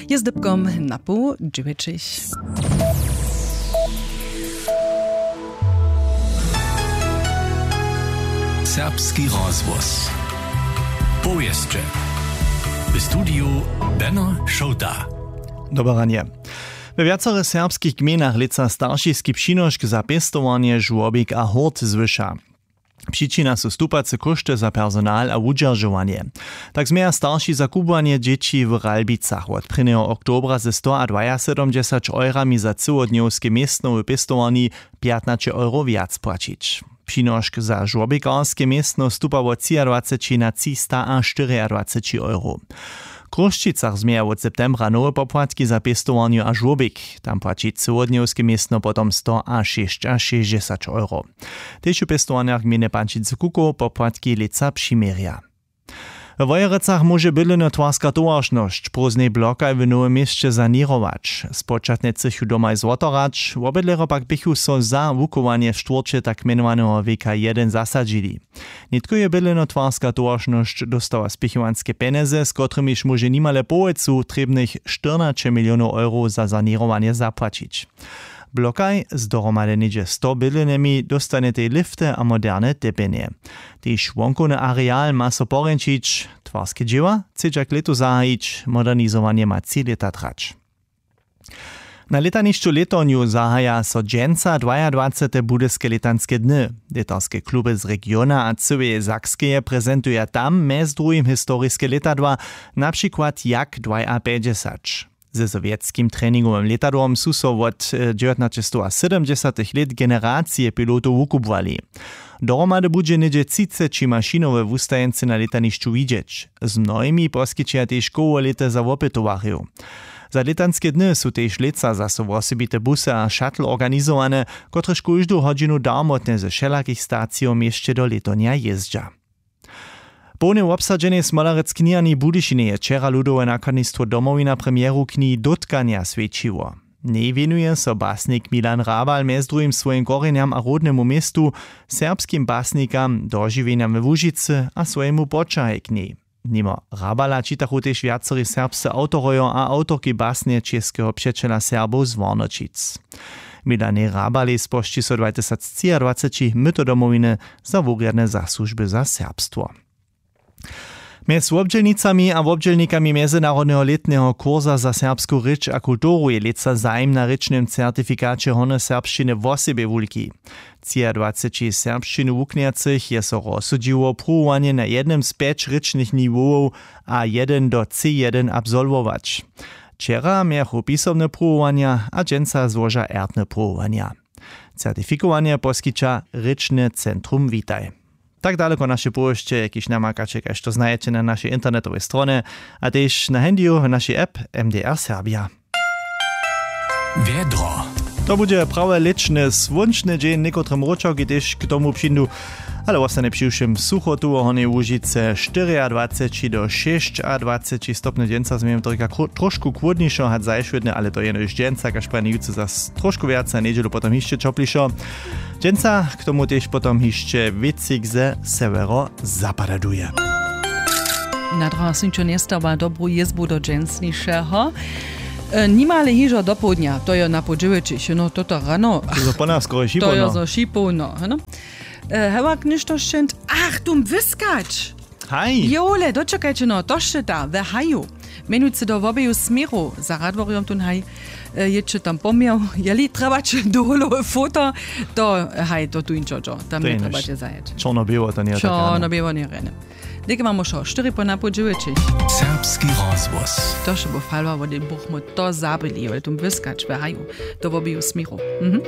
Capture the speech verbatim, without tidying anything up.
Je z dypkom na poł dźewjećich. Serbski rozhłos. Powěsće. W studiju Beno Šołta. Dobre ranje. We wjacore serbskich gmejnach lětsa staršiski přinošk za pěstowarnje, žłobik a hurt zwyša. Přičina su stupace kóšty za personal a wudźeržowanje. Tak změja starši za kubłanje dźěći w Ralbicach wot prěnjeho oktobra ze stoadwajasydomdźesać eurami za cyłodnjowske městno w pěstowarni pjatnaće euro wjac płaćić. Přinošk za žłobikarske městno stupa wot třiadwaceći na třistaaštyriadwaceći euro. W Chrósćicach změja wot septembra nowe popłatki za pěstowarnju a žłobik. Tam płaći cyłodnjowske městno potom stoašěsćašěsćdźesać euro. Tež w pěstowarnjach gmejny Pančicy Kukow popłatki lětsa přiměrja. We Wojerecach móže bydlenotwarska towaršnosć prózdnej blokaj w Nowym Měsće saněrować. Spočatnje chcychu domaj zwotorać, wobydlerjo pak běchu so za wuchowanje w štwórće tak mjenowaneho W K jedyn zasadźili. Nětko je bydlenotwarska towaršnosć dóstała spěchowanske pjenjezy, z kotrymiž móže nimale połojcu trěbnych štyrnaće milionow eurow za saněrowanje zapłaćić. Blokaj z dohromady něhdźe sto bydlenjemi dóstanjetej lifty a moderne tepjenje. Tež wonkowny areal ma so porjeńšić. Twarske dźěła chcedźa k lětu zahajić, modernizowanje ma tři lěta trać. Na lětanišću w Lětornju zahaja so dźensa dwajadwacete Budyske lětanske dny. Lětarske kluby z regiona a cyłeje Sakskeje prezentuja tam mjez druhim historiske lětadła, na přikład Jak dwajapjećdźesać. Ze sowjetskim treningowym lětadłom su so wot dźewjatnaćestowasydomdźesatych lět generacije pilotow wukubłali. Dohromady budźe něhdźe třiceći mašinow we wustajeńcy na lětanišću widźeć. Z mnohimi poskićeja tež kołolěty za wopytowarjow. Za lětanske dny su tež lětsa zaso wosebite busy a shuttle organizowane, kotrež kóždu hodźinu darmotnje ze wšelakich stacijow w měsće do Lětornja jězdźa. Połnje wobsadźenej Smolerec kniharni w Budyšinje je wčera ludowe nakładnistwo Domowina premjeru knihi Dótkanja swjećiło. W njej wěnuje so basnik Milan Rabal mjez druhim swojim korjenjam a rodnemu městu, serbskim basnikam, dožiwjenjam we Łužicy a swojemu poćahaj k njej. Nimo Rabala čitachu tež wjaceri serbscy awtorojo a awtorki basnje Českeho přećela Serbow z Warnoćic. Milanej Rabalej spožči so dwatysactřiadwaceći myto Domowiny za wurjadne zasłužby za serbstwo. Mjez wobdźělnicami a wobdźělnikami mjezynarodneho lětneho kursa za serbsku rěč a kulturu je lětsa zajim na rěčnym certifikaće hornje serbšćiny wosebje wulki. Třiadwaceći serbšćinu wuknjacych je so rozsudźiło pruwowanje na jednym z pjeć rěčnych niwowow a jedyn do C jedyn absolwować. Wčera mějachu pisomne pruwowanja a dźensa złoža ertne pruwowanja. Certifikowanje poskića rěčne centrum Witaj. Tak daleko naše powěsće, kiž namakaće, kaž to znajeće na našej internetowej stronje a tež na handyu w našej app M D R Serbia. Wjedro. To budźe prawje lěćny słónčny dźeń, někotre mróčawki tež k tomu přińdu, ale wostanje přiwšěm sucho tu w Hornjej Łužicy, štyriadwaceći do šěsćadwaceći stopnjow. Dźensa změjemy to rěka tro-, trošku chłódnišo hač zašwědnje, ale to jenož dźensa, kaž prajene jutře zas trošku wjace a njedźelu potom hišće ćoplišo. Dźensa k tomu tež potom hišće wětřik ze sewjerozapada duje. Na drogach sym ćo njestawa dobru jězbu do dźensnišeho. E, nimale hižo dopołdnja, to jo na poł dźewjećich, no, toto rano. To zo po nas skoro to jo šipołno. Zo šipołno, no. E, hewak něšto šćent, ach, tu wyskać. Haj. Jole, dočekajće, no, to šće ta, we haju. Mjenujcy do wobeju směrow, za Radworjom tón haj, e, jěće tam poměł, jeli trjebaće doholowe foto, to, haj, to tu inčo, tam to je njetrjebaće zajeć. Čorno-běło, to njeje tak rano. Čorno-běło njeje rjene. Deke mam wšo, štyri po napoł dźewjećich. Serbski rozhłos. To še bu falwa wot den buchmo to zabyli, jole, tu wyskać we haju, do wobeju směrow. Mhm.